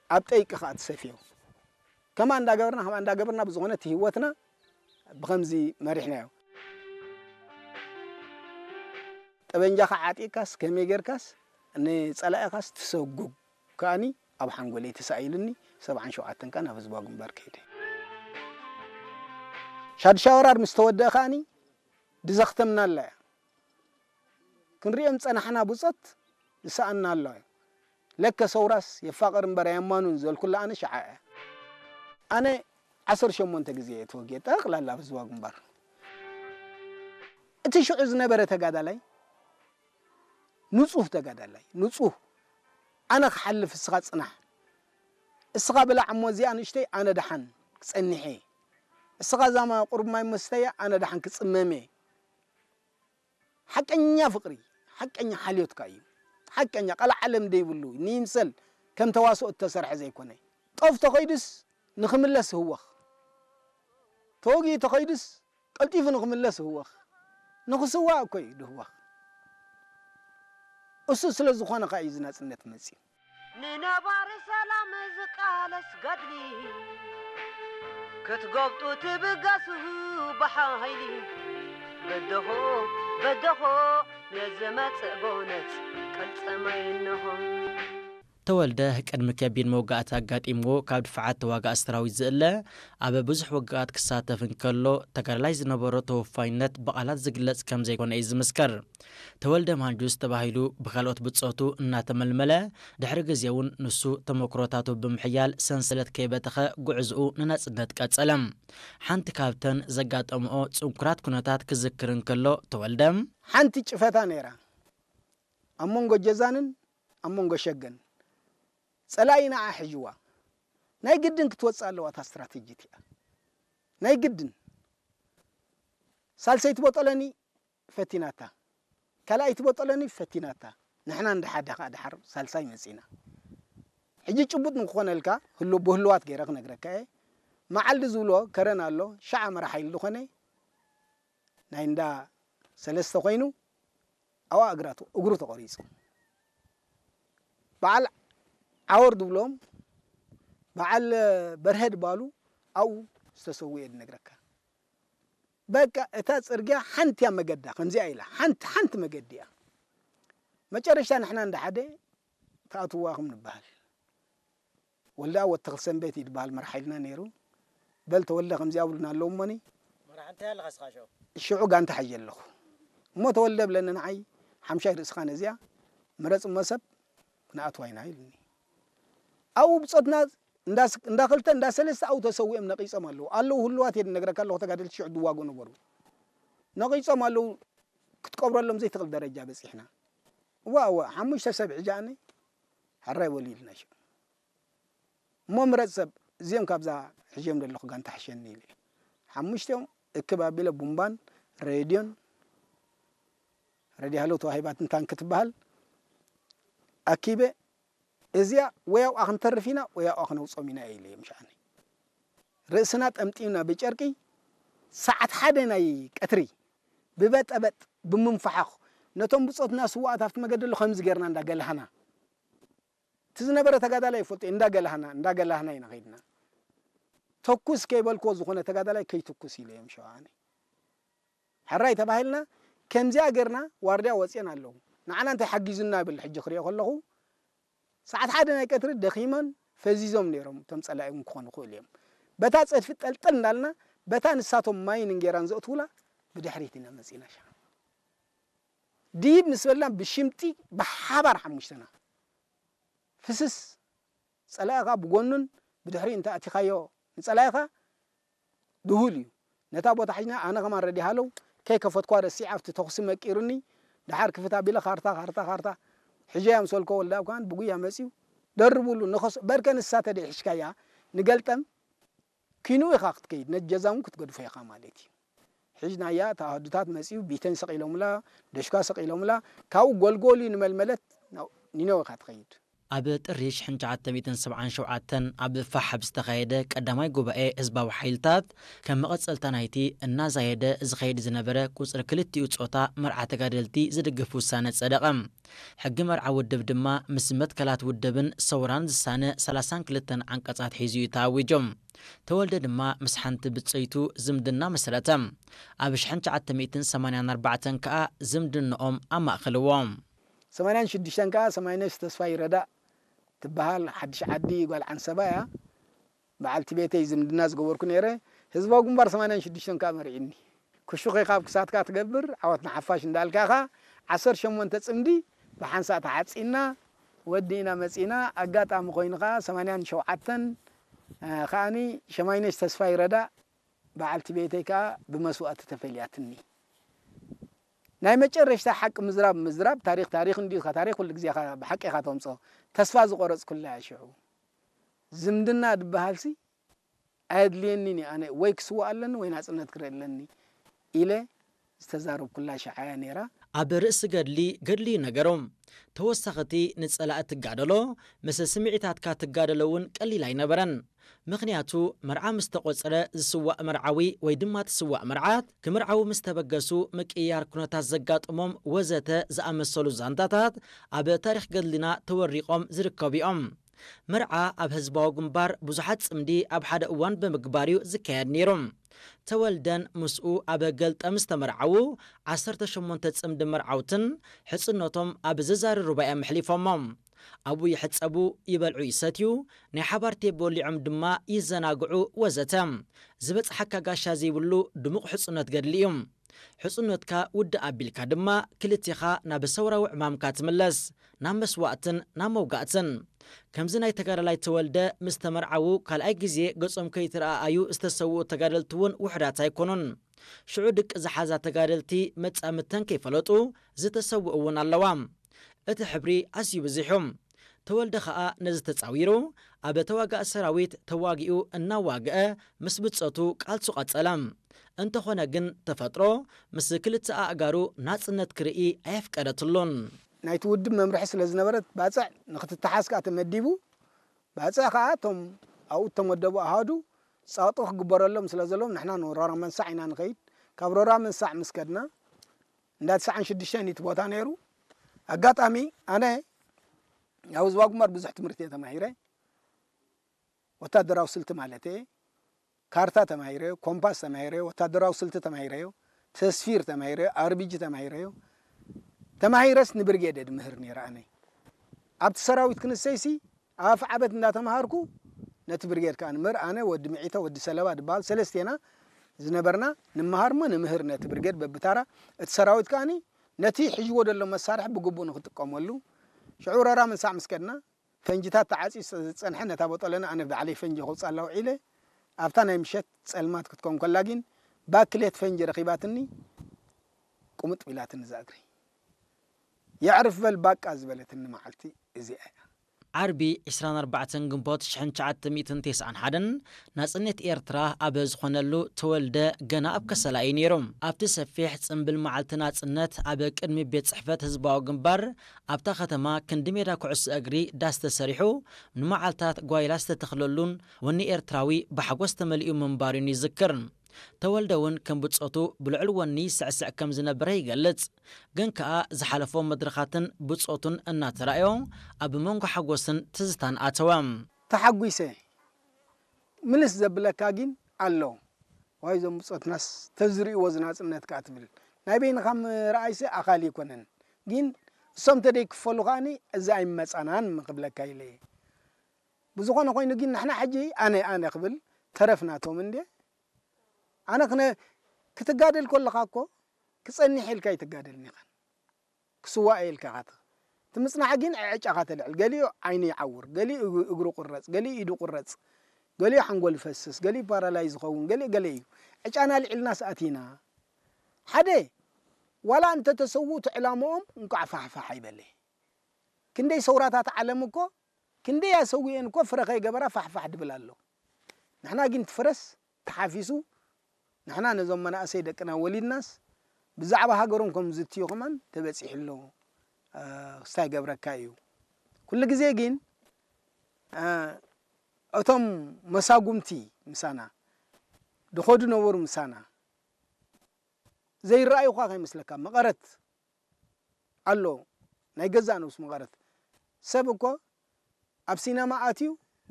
ኣብ ጠይቂ ኸኣ ትሰፍዮ። ከማ እንዳገበርና፣ ከማ እንዳገበርና ብዝኾነ እቲ ህይወትና ብኸምዚ መሪሕናዮ። ጠበንጃኻ ዓጢቕካስ፣ ከመይ ጌርካስ፣ ንጸላኢኻስ ትሰጉግ። ከኣኒ ኣብ ሓንጎለይ ተሳኢሉኒ፣ ሰብዓን ሸውዓተን ከኣ ናብ ህዝባዊ ግንባር ከይደ። ሻዱሻይ ወራር ምስ ተወደአ ከኣኒ፣ ድዘኽተምናላ እያ። ክንሪኦም ጸናሕና ብጾት ዝሰኣና ኣሎ። ለከ ሰውራስ የፋቕር እምበር ኣየማኑን ዘልኩላ ኣነ ሽዓ እያ። ኣነ ዓሰርተ ሸሞንተ ግዜ እየ ተወጊኤ፣ ጠቕላላ ኣብ ህዝባዊ ግንባር። እቲ ሽዑ ዝነበረ ተጋዳላይ፣ ንጹህ ተጋዳላይ፣ ንጹህ፣ ኣነ ክሓልፍ እስኻ ጽናሕ፣ እስኻ ብላዕ እሞ እዚኣ ንእሽተይ ኣነ ደሓን ክጸንሕ እየ፣ እስኻ ዛማ ቁሩብ ማይ መስተያ ኣነ ደሓን ክጽመም እየ። ሓቀኛ ፍቕሪ፣ ሓቀኛ ሓልዮትካ እዩ። ሓቀኛ ቀልዓለም ደይብሉ፣ ንይምሰል ከም ተዋስኦ እተሰርሐ ዘይኮነ። ጦፍ ተኸይዱስ ንኽምለስ ህወኽ። ተወጊኡ ተኸይዱስ ቀልጢፉ ንኽምለስ ህወኽ። ንኽስዋእ እኮ እዩ ድህወኽ። እሱ ስለ ዝኾነ ኸኣ እዩ እዚ ናጽነት መጺኡ። ንነባሪ ሰላም ዝቃለስ ገድሊ ክትጎብጡ ትብገሱ ብሓይሊ። በደኾ በደኾ ነዝመጽእ ጎነጽ ቀልጸማይ እንሆ። ተወልደ ቅድሚ ከቢድ መውጋእቲ ኣጋጢምዎ ካብ ድፋዓት ተዋጋእ ሰራዊት ዝእለ፣ ኣብ ብዙሕ ውግኣት ክሳተፍ እንከሎ፣ ተጋዳላይ ዝነበሮ ተወፋይነት ብቓላት ዝግለጽ ከም ዘይኮነ እዩ ዝምስከር። ተወልደ ማንጁስ ተባሂሉ ብካልኦት ብጾቱ እናተመልመለ፣ ድሕሪ ግዜ እውን ንሱ ተመክሮታቱ ብምሕያል ሰንሰለት ከይበተኸ ጉዕዝኡ ንናጽነት ቀጸለ። ሓንቲ ካብተን ዘጋጠምኦ ጽንኩራት ኩነታት ክዝክር እንከሎ ተወልደ፣ ሓንቲ ጭፈታ ነይራ ኣብ መንጎ ጀዛንን ኣብ መንጎ ሸገን። ጸላኢ ንዓ ሒጅዋ። ናይ ግድን ክትወጽእ ኣለዋ እታ ስትራተጂ እቲኣ። ናይ ግድን። ሳልሰይቲ ቦጦሎኒ ፈቲናታ። ካልኣይቲ ቦጦሎኒ ፈቲናታ። ንሕና እንዳ ሓደ ከኣ ድሓር ሳልሳይ መጺና። ሕጂ ጭቡጥ ንክኾነልካ ህሉ-፣ ብህሉዋት ገይረ ክነግረካ እየ። መዓልዲ ዝብሎ ከረን ኣሎ፣ ሻዕ ኣመራ ሓይሊ ዝኾነ ናይ እንዳ ሰለስተ ኮይኑ፣ ኣብኣ እግራ ተ-፣ እግሩ ተቖሪጹ። በዓል ዓወር ዝብሎም፣ በዓል በርሀ ድባሉ ኣብኡ ዝተሰውኡ እየ ዝነግረካ። በቃ እታ ጽርግያ ሓንቲ እያ መገዳ፣ ከምዚኣ ኢላ፣ ሓንቲ፣ ሓንቲ መገዲ እያ። መጨረሻ ንሕና እንዳ ሓደ ተኣትዋኹም ንበሃል። ወልደኣብ ወዲ ተኽለሰንበት እዩ ዝበሃል መራሒ ሓይልና ነይሩ። በል ተወልደ ከምዚኣ ብሉና ኣለዉ እሞኒ። መራሒ እንታይ ኣለኻ እስኻ ሽዑ? ሽዑ ጋንታ ሒጀ ኣለኹ። እሞ ተወልደ ብለኒ ንዓይ፣ ሓምሻይ ርእስኻ ነዚኣ፣ ምረጽ እሞ ሰብ ክንኣትዋ ኢና ኢሉኒ። ኣብኡ ብጾትና እንዳ ስ-፣ እንዳ ክልተ፣ እንዳ ሰለስተ ኣብኡ ተሰዊኦም ነቒጾም ኣለዉ። ኣለዉ ህሉዋት እየ ዝነግረካ ኣለኹ፣ ተጋደልቲ ሽዑ ዝዋግኡ ነበሩ። ነቒጾም ኣለዉ፣ ክትቀብረሎም ዘይትኽእል ደረጃ በጺሕና። እዋ፣ እዋ፣ ሓሙሽተ ሰብ ሒጀ ኣነ፣ ሕራይ በሉ ኢሉና ሽዑ። እሞ ምረጽ ሰብ፣ እዚኦም ካብዛ ሒጀዮም ዘለኹ ጋንታ ሕሸኒ ኢለ። ሓሙሽቲኦም እክብ ኣቢለ ቡምባን ሬድዮን፣ ሬድዮ ሃሎ ተዋሂባትን ታንክ ትበሃል፣ ኣኪበ፣ እዚኣ ወይ ኣብኣ ክንተርፍ ኢና ወይ ኣብኣ ክነውጾም ኢና ኢለ እዮም ሸዓኒ። ርእስና ጠምጢምና ብጨርቂ ሰዓት ሓደ ናይ ቀትሪ ብበጠበጥ ብምንፋሓኽ ነቶም ብጾትና ስዉኣት ኣብቲ መገዲ ኣሎ ከምዚ ጌርና እንዳገላህና። እቲ ዝነበረ ተጋዳላይ ይፈልጦ፣ እንዳገላህና፣ እንዳገላህና ኢና ከይድና። ተኩስ ከይበልክዎ ዝኾነ ተጋዳላይ ከይትኩስ ኢለ እዮም ሸውዓነ። ሕራይ ተባሂልና፣ ከምዚኣ ጌርና ዋርድያ ወጽየን ኣለዉ። ንዓና እንታይ ሓጊዙና ይብል ሕጂ ክሪኦ ከለኹ፣ ሰዓት ሓደ ናይ ቀትሪ ደኺመን ፈዚዞም ነይሮም፣ እቶም ጸላኢ እውን ክኾኑ ይኽእሉ እዮም። በታ ጸድፊ ጠልጠል እንዳልና፣ በታ ንሳቶም ማይን እንጌራን ዘእትዉላ፣ ብድሕሪት ኢና መጺና ሸዓ። ድይብ ምስ በልና ብሽምጢ ብሓባር ሓሙሽተና ፍስስ፣ ጸላኢኻ ብጎኑን ብድሕሪኡ እንተ ኣቲኻዮ ንጸላኢኻ ድሁል እዩ። ነታ ቦታ ሒዝና ኣነ ከማን ረዲ ሃለው ከይከፈትኳ ረሲዕ ኣብቲ ተኹሲ መቂሩኒ። ደሓር ክፍት ኣቢለ ካርታ፣ ካርታ፣ ካርታ። ሕጀያ ምስ በልኮ ወልደኣብ ከማን ብጉያ መጺኡ ደርብሉ ንኸስ-፣ በርከ ንሳ ተደይ ሒዝካያ ንገልጠም ኪንኡ ኢኻ ክትከይድ፣ ነቲ ጀዛ እውን ክትገድፎ ኢኻ ማለት እዩ። ሒዝናያ፣ ተዋህዱታት መጺኡ፣ ቢተን ሰቒሎምላ፣ ደሽኳ ሰቒሎምላ፣ ካብኡ ጎልጎል እዩ ንመልመለት፣ ናብ ኒነወ ኢኻ ትኸይድ። ኣብ ጥሪ ሽሕን ትሽዓተ ሚእትን ሰብዓን ሸውዓተን ኣብ ፋሕ ኣብ ዝተኻየደ ቀዳማይ ጉባኤ ህዝባዊ ሓይልታት፣ ከም መቐጸልታ ናይቲ እናዛየደ ዝኸይድ ዝነበረ ቁጽሪ ክልቲኡ ጾታ መርዓ ተጋደልቲ ዝድግፍ ውሳነ ጸደቐ። ሕጊ መርዓ ውድብ ድማ ምስ መትከላት ውድብን ሰውራን ዝሳነ ሰላሳን ክልተን ዓንቀጻት ሒዙ እዩ ተኣዊጁ። ተወልደ ድማ ምስ ሓንቲ ብጸይቱ ዝምድና መስረተ። ኣብ ሽሕን ትሽዓተ ሚእትን ሰማንያን ኣርባዕተን ከኣ ዝምድንኦም ኣማእኸልዎ። ሰማንያን ሽዱሽተን ከኣ ሰማይነሽ ተስፋይ ረዳእ ትበሃል ሓድሽ ዓዲ ጓል ዓንሰባ እያ። በዓልቲ ቤተይ ዝምድና ዝገበርኩ ነይረ። ህዝባዊ ግንባር ሰማንያን ሽዱሽተን ከኣ መሪዕኒ። ክሹኺ ካብ ክሳትካ ትገብር፣ ዓወት ንሓፋሽ እንዳልካ ኢኻ። ዓሰርተ ሸሞንተ ጽምዲ ብሓንሳእ ተዓጺና፣ ወዲእና መጺና። ኣጋጣሚ ኮይኑ ከኣ ሰማንያን ሸውዓተን፣ እ፣ ከኣኒ ሸማይነሽ ተስፋይ ረዳእ በዓልቲ ቤተይ ከኣ ብመስዋእቲ ተፈልያትኒ። ናይ መጨረሽታ ሓቂ ምዝራብ፣ ምዝራብ ታሪኽ፣ ታሪኽ እንዲዩ፣ ታሪኽ ኩሉ ግዜ ኢኻ ብሓቂ ኢኻ ተምጽኦ። ተስፋ ዝቆረጽኩላ እያ ሽዑ። ዝምድና ዝበሃልሲ ኣየድልየኒን እዩ፣ ኣነ ወይ ክስዋእ ኣለኒ ወይ ናጽነት ክርኢ ኣለኒ ኢለ ዝተዛረብኩላ ሽዓ እያ ነይራ። ኣብ ርእሲ ገድሊ፣ ገድሊ እዩ ነገሩ። ተወሳኺ እቲ ንጸላኢ ትጋደሎ፣ ምስ ስምዒታትካ ትጋደሎ እውን ቀሊል ኣይነበረን። ምኽንያቱ፣ መርዓ ምስ ተቖጸረ ዝስዋእ መርዓዊ ወይ ድማ ትስዋእ መርዓት፣ ክምርዓዉ ምስ ተበገሱ ምቅይያር ኩነታት ዘጋጥሞም ወዘተ ዝኣመሰሉ ዛንታታት ኣብ ታሪኽ ገድልና ተወሪቖም ዝርከቡ እዮም። መርዓ ኣብ ህዝባዊ ግንባር ብዙሓት ጽምዲ ኣብ ሓደ እዋን ብምግባር እዩ ዝካየድ ነይሩ። ተወልደን ምስኡ ኣብ ገልጠም ዝተመርዓዉ ዓሰርተ ሸሞንተ ጽምዲ መርዓውትን ሕጽኖቶም ኣብ ዝዛሪ ሩባ እዮም ኣሕሊፎሞ። ኣብኡ ይሕጸቡ፣ ይበልዑ፣ ይሰትዩ፣ ናይ ሓባር ቴቦ በሊዖም ድማ ይዘናግዑ ወዘተ። ዝበጽሓካ ጋሻ ዘይብሉ ድሙቕ ሕጽኖት ገድሊ እዩ። ሕጽኖትካ ውድእ ኣቢልካ ድማ ክልቴኻ ናብ ሰውራዊ ዕማምካ ትምለስ፣ ናብ መስዋእትን ናብ መውጋእትን። ከምዚ ናይ ተጋዳላይ ተወልደ ምስ ተመርዓዉ ካልኣይ ግዜ ገጾም ከይተረኣኣዩ ዝተሰውኡ ተጋደልቲ እውን ውሑዳት ኣይኮኑን። ሽዑ ድቂ ዝሓዛ ተጋደልቲ መጻምድተን ከይፈለጡ ዝተሰውኡ እውን ኣለዋ። እቲ ሕብሪ ኣዝዩ ብዙሕ እዩ። ተወልደ ኸኣ ነዚ ተጻዊሩ ኣብ ተዋጋኢ ሰራዊት ተዋጊኡ እናዋግአ ምስ ብጾቱ ቃልሱ ቀጸለ። እንተኾነ ግን ተፈጥሮ ምስ ክልተ ኣእጋሩ ናጽነት ክርኢ ኣየፍቀደትሉን። ናይቲ ውድብ መምርሒ ስለ ዝነበረት ባጽዕ ንኽትተሓዝ ከኣ ተመዲቡ። ባጽዕ ከኣ እቶም ኣብኡ እተመደቡ ኣሃዱ ጸቕጢ ክግበረሎም ስለ ዘለዎም ንሕና ንሮራ መንሳዕ ኢና ንኸይድ። ካብ ሮራ መንሳዕ ምስ ከድና እንዳ ትስዓን ሽዱሽተን እዩ እቲ ቦታ ነይሩ። ኣጋጣሚ ኣነ ኣብ ህዝባዊ ግንባር ብዙሕ ትምህርቲ እየ ተማሂረ። ወታደራዊ ስልቲ ማለት እየ። ካርታ ተማሂረዮ፣ ኮምፓስ ተማሂረዮ፣ ወታደራዊ ስልቲ ተማሂረዮ፣ ተስፊር ተማሂረዮ፣ ኣርቢጂ ተማሂረዮ። ተማሂረስ ንብርጌድ እየ ድምህር ነይረ ኣነ። ኣብቲ ሰራዊት ክንሰይሲ ኣብ ኣፍዓበት እንዳተምሃርኩ ነቲ ብርጌድ ከኣ ንምህር። ኣነ፣ ወዲ ምዒተ፣ ወዲ ሰለባ ድበሃል ሰለስቴና ዝነበርና ንምሃር እሞ ንምህር ነቲ ብርጌድ በብታራ። እቲ ሰራዊት ከኣኒ ነቲ ሒዝዎ ዘሎ መሳርሒ ብግቡእ ንክጥቀመሉ። ሽዑ ረራ ምንሳዕ ምስ ከድና ፈንጅታት ተዓጽዩ ዝጸንሐ ነታ ቦጠለና ኣነ ባዕለይ ፈንጂ ከውጽኣላ ውዒለ ኣብታ ናይ ምሸት ጸልማት ክትከውን ከላ ግን ባክሌት ፈንጂ ረኺባትኒ ቁምጥ ቢላትኒ እዛ እግረይ። የዕርፍ በል ባቃ ዝበለትኒ መዓልቲ እዚኣ እያ። ዓርቢ ዕስራን ኣርባዕተን ግንቦት ሽሕን ትሽዓተ ሚእትን ተስዓን ሓደን ናጽነት ኤርትራ ኣብ ዝኾነሉ ተወልደ ገና ኣብ ከሰላ እዩ ነይሩ። ኣብቲ ሰፊሕ ጽምብል መዓልቲ ናጽነት ኣብ ቅድሚ ቤት ጽሕፈት ህዝባዊ ግንባር ኣብታ ከተማ ክንዲ ሜዳ ኩዕሶ እግሪ ዳስ ተሰሪሑ ንመዓልታት ጓይላ ዝተተኽለሉን ወኒ ኤርትራዊ ብሓጎስ ተመሊኡ ምንባሩን ይዝክር። ተወልደ እውን ከም ብጾቱ ብልዑል ወኒ ይስዕስዕ ከም ዝነበረ ይገልጽ። ግን ከኣ ዝሓለፎ መድረኻትን ብጾቱን እናተራእዮ ኣብ መንጎ ሓጎስን ትዝታን ኣተወ። ተሓጒሰ ምልስ ዘብለካ ግን ኣሎ። ዋይ እዞም ብጾትናስ ተዝርእይዎ ዝናጽነት ከኣ ትብል። ናይ በይንኻ ምርኣይሲ ኣኻሊ ኣይኮነን። ግን እሶም ተደይክፈሉ ከኣኒ እዚ ኣይመጻናን ክብለካ ኢለ እየ። ብዝኾነ ኮይኑ ግን ንሕና ሕጂ ኣነ፣ ኣነ ክብል ተረፍ ናቶም እንዴ። ኣነ ክነ-፣ ክትጋደል ከለኻ እኮ ክጸንሕ ኢልካ ኣይትጋደልን ኢኻን። ክስዋእ ኢልካ ኢኻ ትኽ-፣ እቲ ምጽናሕ ግን ዕጫኻ ተልዕል። ገሊኡ ዓይኑ ይዓውር፣ ገሊኡ እግ-፣ እግሩ ቁረጽ፣ ገሊኡ ኢዱ ቁረጽ፣ ገሊኡ ሓንጎል ይፈስስ፣ ገሊኡ ፓራላይዝ ይኸውን፣ ገሊኡ ገለ እዩ። ዕጫና ኣልዒልናስ ኣቲና። ሓደ፣ ዋላ እንተ ተሰውኡ እቲ ዕላምኦም እንቋዕ ፋሕፋሕ ኣይበለ። ክንደይ ሰውራታት ዓለም እኮ፣ ክንደይ ኣሰዊኤን እኮ ፍረ ከይገበራ ፋሕፋሕ ድብል ኣሎ። ንሕና ግን እቲ ፍረስ ተሓፊሱ፣ ንሕና ነዞም መናእሰይ ደቅና ወሊድናስ ብዛዕባ ሃገሮም ከም ዝትዩ ከማን ተበጺሑ ኣሎ። እ፣ ክስታይ ገብረካ እዩ። ኩሉ ግዜ ግን እቶም መሳጉምቲ ምሳና ድኸዱ ነበሩ ምሳና ዘይረኣዩ ኳ ከይመስለካ መቐረት ኣሎ ናይ ገዛእ ነብሱ መቐረት ሰብ እኮ ኣብ ሲነማ ኣትዩ